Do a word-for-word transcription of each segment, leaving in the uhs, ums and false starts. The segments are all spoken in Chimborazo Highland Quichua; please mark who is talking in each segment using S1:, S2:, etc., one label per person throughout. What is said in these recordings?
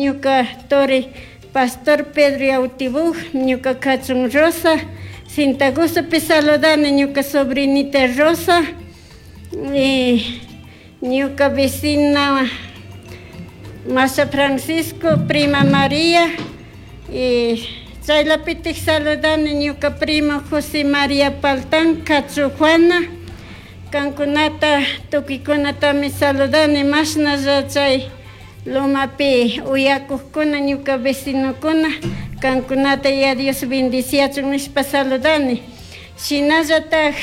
S1: Ñuka turi Pastor Pedro Yautibuj, ñuka kachun Rosa, Sintagustopi saludani ñuka sobrinita Rosa, y ñuka vecina Masa Francisco, prima María, y chaylapitik saludani ñuka primo José María Paltán, kachu Juana, kankunata tukuykunatami saludani mashnalla chay Lomapi uyakuqkuna ñuka vecinokuna kankunata ya Dios bendiciachun nishpa saludani. Shinallatak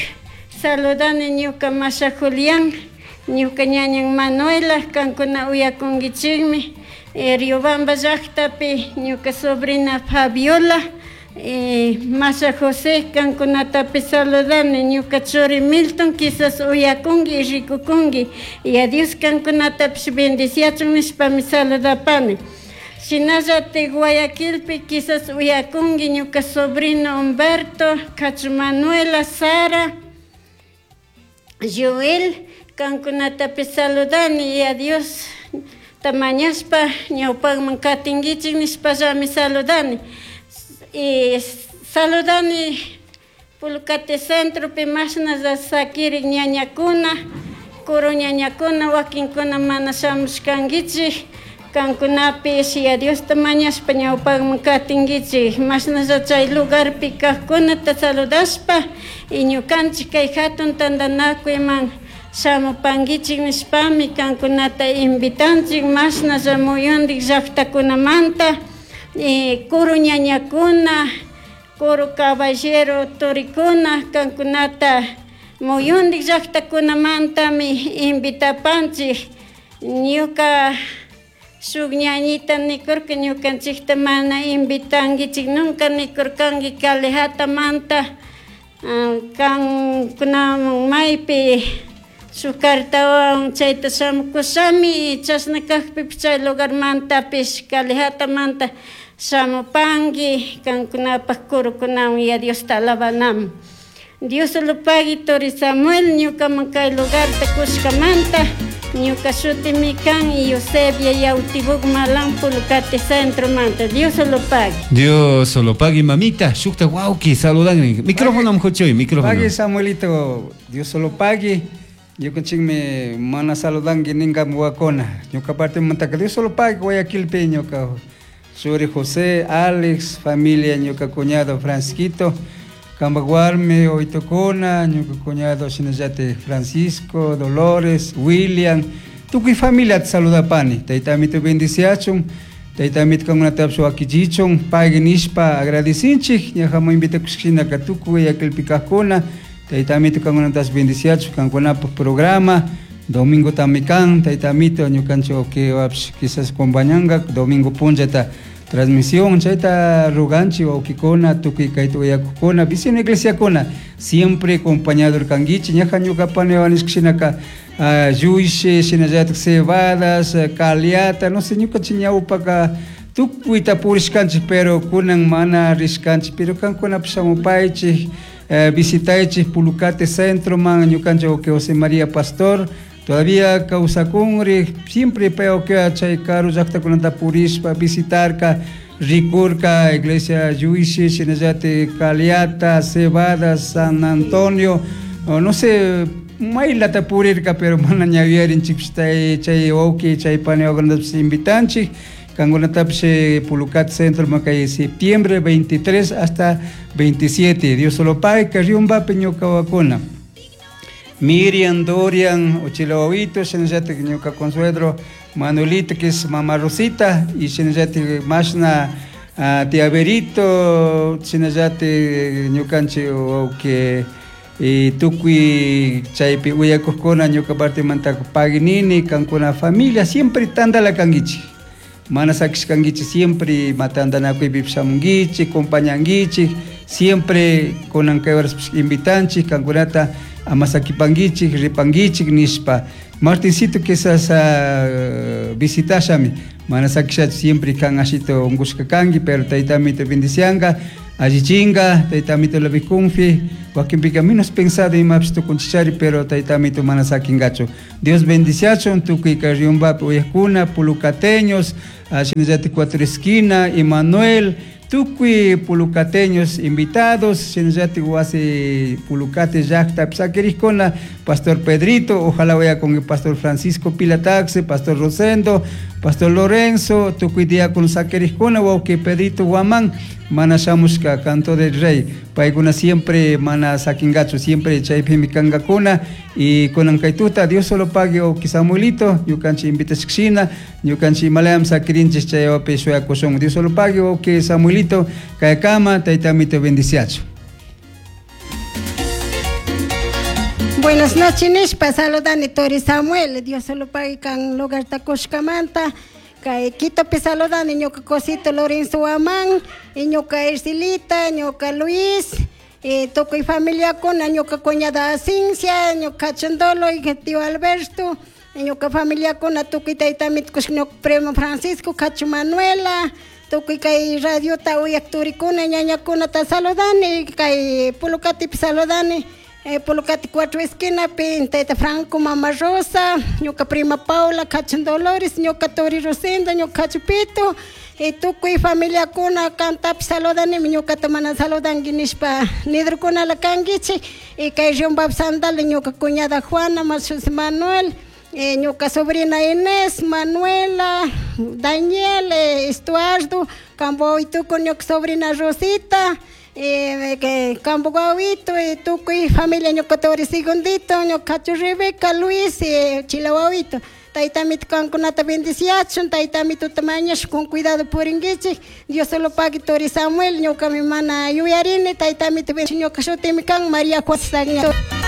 S1: saludani ñuka Masha Julián, ñuka ñañan Manuela, kankuna uyakunkichikmi, eh, Riobamba llaqtapi ñuka sobrina Fabiola, eh, Masha José, kankunatapi saludani, ñuka churi Milton, quizás uyakunki y rikukunki, y a Dios kankunatapish bendiciachun nishpami saludapani. Shinallatik Guayaquilpi quizás uyakunki ñuka sobrino Humberto, Cacho Manuela, Sara, Joel, kankunatapi saludani y a Dios tamañashpa ñawpakman katinkichik nishpallami saludani. Y saludani Pulcate centropi mashnalla sakirik ñañakuna, kuru ñañakuna, wakinkuna mana shamushkankichik, kankunapish ya Diosta mañashpa ñawpakman katinkichik, mashnalla chay lugarpi kaqkunata saludashpa y ñukanchik kay hatun tantanakuyman shamupankichik nishpami kankunata invitanchik mashnalla muyundik llaqtakunamanta, y kuru ñañakuna, kuru caballero turikuna, kankunata muyundik llaqtakunamantami invitapanchik. Ñuka shuk ñañita nikurka ñukanchikta mana invitankichik, nunca nikurkanki Calejatamanta, kankunaman maypi shuk cartawan chayta shamukushami, chashna kakpipish chay lugarmantapish Calejatamanta shamupanki kankunapak kurukunawan ya Diosta alabanaman. Dios lo pagui turi Samuel ñukaman kay lugarta kushkamanta, ñuka shutimi kan Eusebia Yautibuk Malan Pulcate centromanta. Dios lo pagui.
S2: Dios lo pagui, mamita. Shukta wauki saludan. Micrófono mjuchoy, micrófono.
S3: Pagui Samuelito, Dios lo pagui. Ñukanchikmi mana saludanki ninka wakona. Ñuka parte mantaka Dios lo pagui Guayaquilpi ñuka Suri José, Alex, familia ñuka cuñado Francisquito, Cambaguarme, Oitocona, ñuka cuñado shinallate Francisco, Dolores, William, tukuy familia te saludapani. Taytamito bendiciachun, taytamito kankunatapish wakichichun, pagui nishpa agradecinchik, ñajamu invitakushkinaka tukuy Guayaquilpi kajkuna, taytamito kankunatapish bendiciachun, kankunapaj programa, domingo tamikan, taytamito ñukanchik wakiwapish quizás acompañanka, domingo punllata transmisión, chayta ruganchi wawkikuna, tukuy kayta uyakukuna, vecino iglesiakuna, siempre acompañado kankichik, ñaja ñuka pani wanishka yuyshi, shinallatak cebadas, caliata, no sé, ñukanchik ñawpaka tukuyta purishkanchik, pero kunan mana rishkanchik, pero kankunapish shamupaychik, eh, visitaychik Pulucate centroman, ñukanchik wawki José María Pastor, todavía kawsakunri, siempre pay wawki chay karu llaqtakunata purishpa visitarka, rikurka, iglesia Yuyshi, shinallati Caliata, Cebada, San Antonio, o no sé, maylata purirka, pero mana ñawiyarinchikpish chay, chay wawki, chay pani wawkunatapish invitanchik, kankunatapish Pulucate centro kay septiembre veintitrés hasta veintisiete, Dios solo pague, que Riumbapi ñuka wakuna. Miriam, Dorian, Ochilawawito, shinallati ñuka consuegro Manuelito, que es mamá Rosita, y shinallati mashna, ah, tía Berito, shinallati ñukanchik wawki, y tukuy chaypi uyakujkuna ñuka partimanta paginini, kankuna familia, siempre tandala kankichik. Mana sakishkankichik, siempre matandanakuypi shamunkichik, acompañankichik, siempre kunan kay horas invitanchik, kankunata amasakipankichik, ripankichik nishpa. Martincito quizás, uh, visitashami, mana sakishach siempre kan ashito ungushka kanki, pero taytamito bendicianga, allichinga, taytamito la bikunfi, Wakinpika menos pensado imapish tukunchichari, pero tayta amito mana sakingachu. Dios bendiciachun tukuy kay Riobambapi uyakuna, pulucateños, shinallatik Cuatro Esquina, Emanuel, tukuy pulucateños invitados, shinallatik wasi pulucate llaktapi sakirikkuna, Pastor Pedrito, ojalá vaya con el Pastor Francisco Pilataxe, Pastor Rosendo, Pastor Lorenzo, tukuy diácono sakirikkuna, wawki Pedrito Guamán, mana shamushka canto del rey, paykuna siempre mana sakingachu, siempre chaypimi kankakuna, y kunan kay tuta, Dios solo pague wawki Samuelito, ñukanchik invitashkashina, ñukanchik imalayam sakirinchik chaywapi shuyakushun, Dios solo pague wawki Samuelito, kaykama, tayta amito bendiciachu.
S4: Buenas noches, nishpa saludani Tori Samuel, Dios solo pague kan lugar takushkamanta, kay Quitopi saludani ñuka cosito Lorenzo Guamán, y ñuka Ercilita, ñuka Luis, y tukuy familiakuna, ñuka cuñada Cincia, ñuka Chandolo y tío Alberto, y ñuka familiakuna tukuy tayta mitkush ñuka primo Francisco, Cacho Manuela, tukuy kay radiota uyak turikuna, ñañakunata saludani, kay Pulucatipi saludani, eh, Pulucati cuatro esquinapi, tayta Franco, mama Rosa, ñuka prima Paula, Cacho Dolores, ñuka Tori Rosendo, ñuka Cachupito, y tukuy familiakuna kantapi saludanimi, ñukata mana saludanki nishpa nidrukunala kankichik, y kay Riobambapi Sandal, ñuka cuñada Juana, José Manuel, eh, ñuka sobrina Inés, Manuela, Daniel, eh, Estuardo, kambo tukuy ñuka sobrina Rosita, eh, que kambo guawito, eh, tukuy familia ñuka Tori Segundito, ñuka Cacho Rebeca, Luis, eh, Chilahuawito. Tayta amito kankunata bendiciachun, tayta amito tamañash con cuidado puringuichik, Dios solo pague Tori Samuel, ñuka mi mana yuyarini, tayta amito ñuka shutimi kan María Juan.